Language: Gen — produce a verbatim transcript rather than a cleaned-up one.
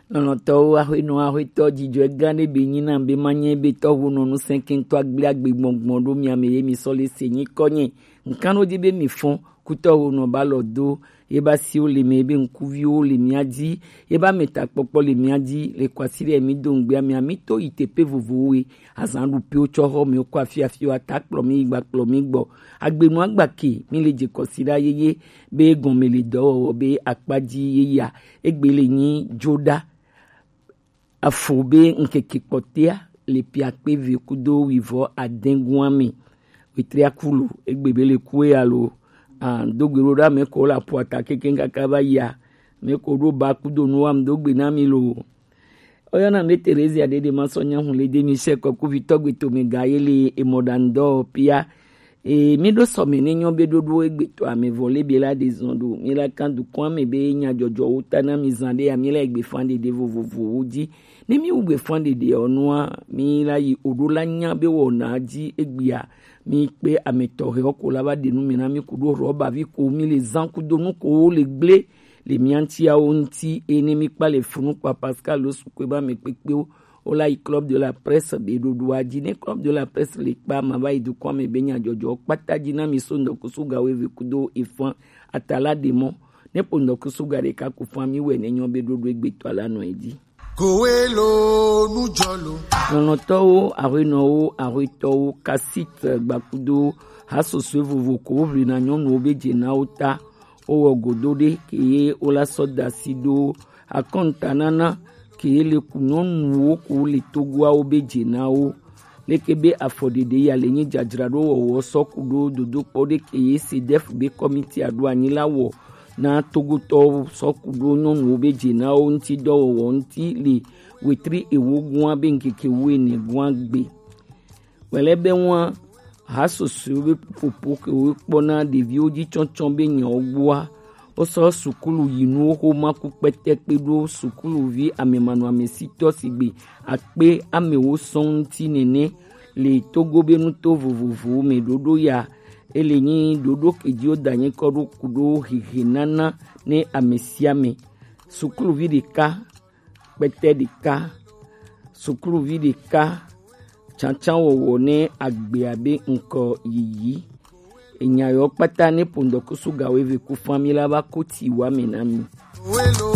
Lɔlɔ̃tɔwo, axɔenɔ, axɔetɔ, dzidzɔe gã ɖe be nyi nam be manye be tɔʋu nɔ nu sɛnkɛntɔ agble agbe gbɔngbɔn ɖo mia me ye mi sɔ le se nyikɔ nye. Nkan ɖo dzi be mi fɔn kutɔwo nɔ ba lɔ do ye ba siwo le me be ŋkuviwo le mia dzi ye ba me takpɔkpɔ le mia dzi le kwasiɖe mi do ŋgbea mia mi to yi teƒe vovovowo ye azan ɖu piwo tsɔ xɔ mi ko afi afi wa ta kplɔ mi gba kplɔ mi gbɔ agbenu agba ke mi le dze kɔsiɖa yeye be gɔme le dɔwɔwɔ be akpadzi yeyea egbe le nyi dzoɖa afo be ŋkeke kpɔtea le piakpe ve kudo wivɔ adɛngua me. Wetria kulo egbe be le kue alo ah, dogbe ɖo ɖa me ko la puata keke kaka va yia me ko ɖo ba kudo nu wam dogbe na mi lo. Oyɔna be Terezia ɖeɖe ma sɔ nyahu le de mi se kɔkuvitɔ gbe tome ga ye le emɔɖaŋdɔ pia. E mi ɖo sɔme ne nyɔ be ɖoɖo egbetɔ ame vɔ le be la de zɔn ɖo mi la kan dukɔn ame be nyadzɔdzɔwo ta na mi zan ɖe ya mi la egbe fan ɖeɖe vovovowo dzi. Ne mi wu gbe fan ɖeɖe ɔ nua mi la yi oɖo la nya be wɔna dzi egbea mi kpe ame tɔxɛ ɔ ko la va ɖe nu mi na mi ku ɖo rɔba vi ko mi le zan kudo nu ko wo le gble le mia ŋutiawo ŋuti eye ne mi kpa le funu kpa Pascal lo sukue ba me kpekpewo. Wola yi Club de la Presse be ɖoɖoa dzi. Ne Club de la Presse le kpa ma va yi dukɔa me be nyadzɔdzɔ kpata dzi na mi so ŋdɔkusu ga wo eve kudo efan atala ɖe mɔ. Ne ƒo ŋdɔkusu ga ɖeka ku fan mi wɛ ne nyɔ be ɖoɖo egbetɔ la nɔ edzi. Kowe lo nujɔ lo. Lɔlɔ̃tɔwo, aƒenɔwo, aƒetɔwo, kasit gbakudo hasosoe vovo ko woʋlina nyɔnuwo be dzenawo ta. Wowɔ godo ɖe ke ye wola sɔ da asi ɖo akɔntanana ke le ku nyɔnuwo ko le togoawo be dze na wo. Leke be afɔɖeɖe ya le nyi dzadzraɖo wɔwɔ sɔ ku ɖo dodokpɔ ɖe ke ye sedef be kɔmiti aɖo anyi la wɔ na togotɔwo sɔ ku ɖo nyɔnuwo be dze na wo ŋuti dɔwɔwɔ ŋuti le wetri ewo gua be ŋkeke wuiene gua gbe. Wɛlɛ be ŋua ha sosoewo be popo ke wo kpɔna ɖeviwo dzi tsɔtsɔ be nyawo gbɔa, wosɔ sukulu yinuwo xoma ku kpɛtɛkpe ɖo sukuluvi amemanɔamesitɔ sigbe akpe amewo sɔŋ ŋuti nene le Togo be nuto vovovowo me ɖoɖo ya. Ele nyi ɖoɖo ke dzi woda nyikɔ ɖo ku ɖo hehe nana ne ame sia ame. Sukuluvi ɖeka kpɛtɛ ɖeka, sukluvi ɖeka, tsantsanwɔwɔ ne agbea be ŋkɔ yiyi. Enya yawo kpata ne ƒo ŋdɔkusu ga wo eve ku fã mi la va ko ti wa me na mi.